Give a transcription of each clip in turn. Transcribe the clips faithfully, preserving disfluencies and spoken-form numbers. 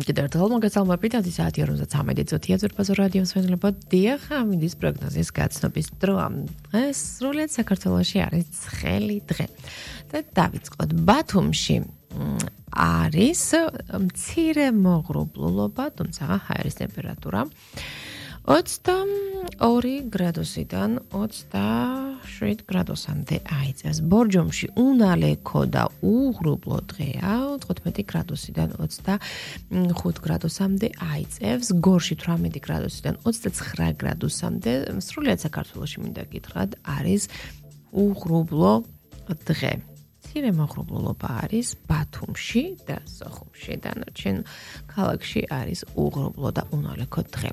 კიდევ ერთხელ მოგესალმებით, ათი საათი ორმოცდამეტი წუთია ზურბაზო რადიო მსმენელებო. დიახ, ამინდის პროგნოზის გაცნობის დროა. დღეს სრულიად საქართველოში არის ცხელი დღე. და დავიწყოთ ბათუმში არის მცირე მოღრუბლულობა, თუმცა ჰაერის ტემპერატურა ოცდაორი გრადუსიდან ოცდაშვიდ გრადუსამდე აიწევს. ბორჯომში უნალექო და უღრუბლო დღეა, თხუთმეტი გრადუსიდან ოცდახუთ გრადუსამდე აიწევს. გორში თვრამეტი გრადუსიდან ოცდაცხრა გრადუსამდე, სრულიად საქართველოში მინდა გითხრათ, არის უღრუბლო დღე. მცირე მოღრუბლულობა არის ბათუმში და სოხუმში, დანარჩენ ქალაქში არის უღრუბლო და უნალექო დღე.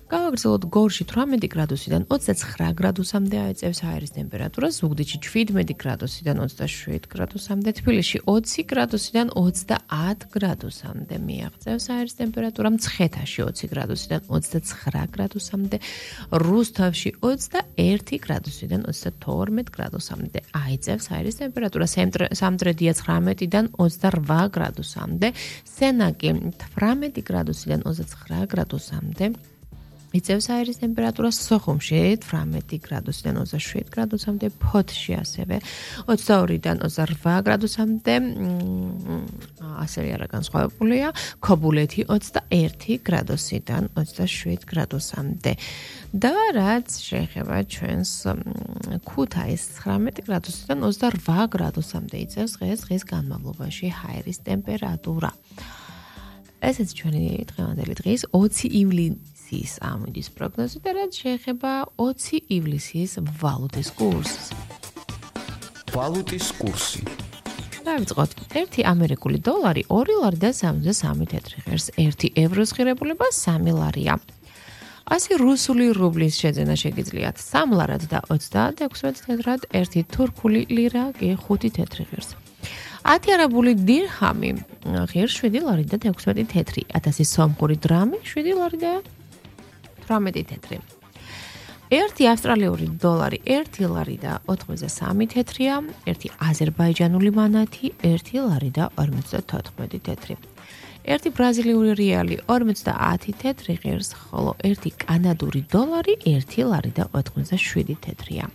გავაგრძელოთ გორში თვრამეტი გრადუსიდან ოცდაცხრა გრადუსამდე აიწევს ჰაერის ტემპერატურა, ზუგდიდში ჩვიდმეტი გრადუსიდან ოცდაშვიდ გრადუსამდე, თბილისში ოცი გრადუსიდან ოცდაათ გრადუსამდე მიაღწევს ჰაერის ტემპერატურა, მცხეთაში ოცი გრადუსიდან ოცდაცხრა გრადუსამდე, რუსთავში ოცდაერთი გრადუსიდან ოცდათორმეტ გრადუსამდე აიწევს ჰაერის ტემპერატურა, სამტრედია ცხრამეტიდან ოცდარვა გრადუსამდე, სენაკი თვრამეტი გრადუსიდან ოცდაცხრა გრადუსამდე იწევს ჰაერის ტემპერატურა, სოხუმში თვრამეტი გრადუსიდან ოცდაშვიდ გრადუსამდე, ფოთში ასევე ოცდაორიდან ოცდარვა გრადუსამდე, ასევე არა განსხვავებულია, ქობულეთი ოცდაერთი გრადუსიდან ოცდაშვიდ გრადუსამდე. და რაც შეეხება ჩვენს ქუთაისს ცხრამეტი გრადუსიდან ოცდარვა გრადუსამდე იწევს დღეს დღის განმავლობაში ჰაერის ტემპერატურა. ესეც ჩვენი დღევანდელი დღის ოცი ივლისის ამინდის პროგნოზი და რაც შეეხება ოცი ივლისის ვალუტის კურსს. ვალუტის კურსი. დავიწყოთ. ერთი ამერიკული დოლარი ორი ლარი და სამოცდასამი თეთრი ღერს, ერთი ევროს ღირებულება სამი ლარია. ასი რუსული რუბლის შეძენა შეგიძლიათ სამ ლარად და ოცდაექვსმეტ თეთრად, ერთი თურქული ლირა კი ხუთი თეთრი ღერს. ათი არაბული დირჰამი ღირს შვიდი ლარი და ექვსმეტი თეთრი, ათასი სომხური დრამი შვიდი ლარი და თვრამეტი თეთრი. ერთი ავსტრალიური დოლარი ერთი ლარი და ოცდასამი თეთრია, ერთი აზერბაიჯანული მანათი ერთი ლარი და ორმოცდათოთხმეტი თეთრი. ერთი ბრაზილიური რეალი ორმოცდაათი თეთრი ღირს, ხოლო ერთი კანადური დოლარი ერთი ლარი და ოთხმოცდაშვიდი თეთრია.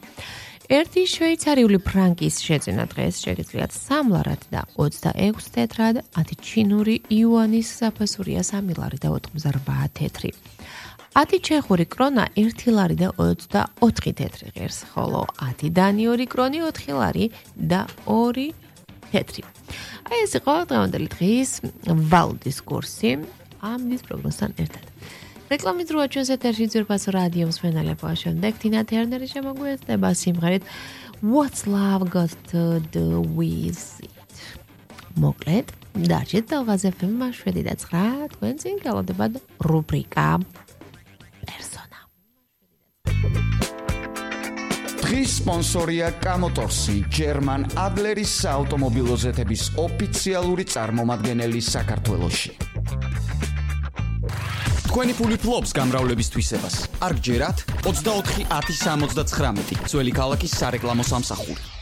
ერთი შვეიცარიული ფრანკის შეძენა დღეს შეგიძლიათ სამ ლარად და ოცდაექვსი თეთრად, ათი ჩინური იუანის საფასურია სამი ლარი და ოცდარვა თეთრი. ათი ჩეხური კრონა ერთი ლარი და ოცდაოთხი თეთრი ღირს, ხოლო ათი დანიური კრონი ოთხი ლარი და ორი თეთრი. აი ეს იყო დღევანდელი დღის ვალუტის კურსი ამინდის პროგნოზთან ერთად. რეკლამის დროა ჩვენს ეთერში ზურბაზო რადიო მსმენელებო, შემდეგ თინა თერნერი შემოგვიერთდება სიმღერით What's Love Got to Do With It. მოკლედ, დაჭერთ თავაზე ეფ ემ შვიდი და ცხრა, თქვენ წინ გალოდებათ რუბრიკა პერსონა. დღის სპონსორია კამოტორსი, ჯერმან ადლერის საავტომობილო ზეთების ოფიციალური წარმომადგენელი საქართველოში. თქვენი ფული ფლობს გამრავლების თვისებას. არ გჯერათ ოცდაოთხი ათი სამოცდაცხრამეტი, ძველი ქალაქის სარეკლამო სამსახური.